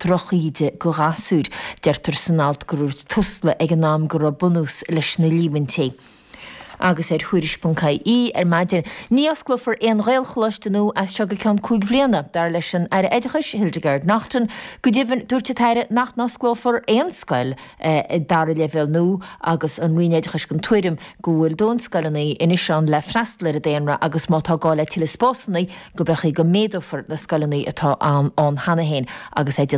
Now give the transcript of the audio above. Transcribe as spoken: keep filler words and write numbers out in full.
drochíde do ghasúir. Deirtear san alt gur dhúirt Tusla ag an am go raibh bunús leis na líomhaintí. Agus ar Thuairisc ponc ie ar maidin, ní osclófar aon Ghaelcholáiste nua as seo go ceann cúig bliana, dar leis an Aire Oideachais, Hildegarde Naughton. Go deimhin, dúirt an tAire nach n-osclófar aon scoil dara leibhéal nua agus an Roinn Oideachais den tuairim go bhfuil dóthain scoileanna anois ann le freastal ar an daonra agus má tá gá le tuilleadh spásanna go mbeidh go méadófar na scoileanna atá ann cheana féin agus é